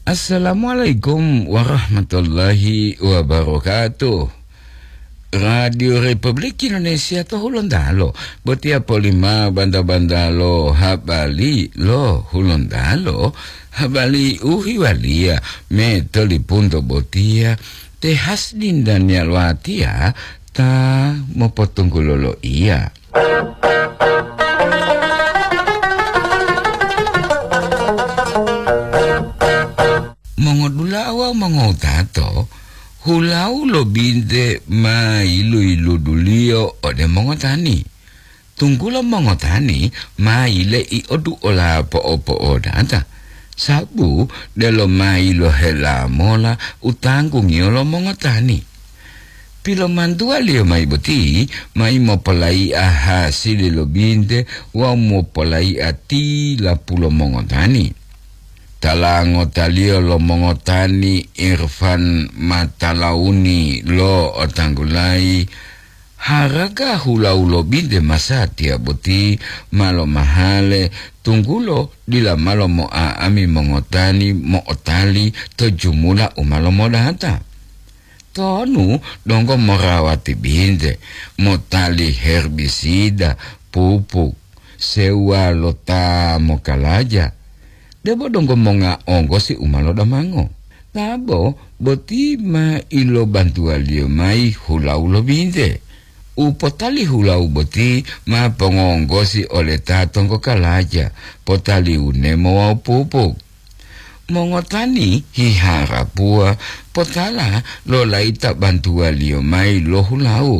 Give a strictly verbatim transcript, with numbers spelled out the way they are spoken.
Assalamualaikum warahmatullahi wabarakatuh. Radio Republik Indonesia to Hulontalo, botiya polima banta-bantalo habari lo Hulontalo, habari u hiwaliya me to lipunto botiya, te Hasdin Daniel Watiya ta mopotunggulo lo iya. Mongodula'a wawu mongowutato, hulau lo binte ma yilu-yiluduliyo ode mongotani. Tunggulo mongotani ma yile'i oduola po'o-po'odata, sabu delo ma yilohela mola u tanggungiyo lo mongotani. Pilomantuwaliyo mayi boti, mayi mopolai'a hasili lo binte wawu mopolai'a tilapulo mongotani. Tala ngotaliyo lo mongotani Irfan Matalauni lo otanggulayi, haraga hulau lo binte masatiya boti ma lomahale, tunggulo dila ma lomo'a'ami mongotani mo'otali to jumula u ma lomodata. Tonu donggo morawati binte, motali herbisida, pupuk, sewuwa lo ta mokalaja, debo donggo monga onggosi u ma lodamango. Tabo boti ma ilobantuwaliyo mayi hulau lo binte. U potali hulau boti ma pongonggosi ole ta tonggo kalaja, potali unemo wawu pupuk. Mongotani hiharapuwa potala lo layita bantuwaliyo mayi lo hulau.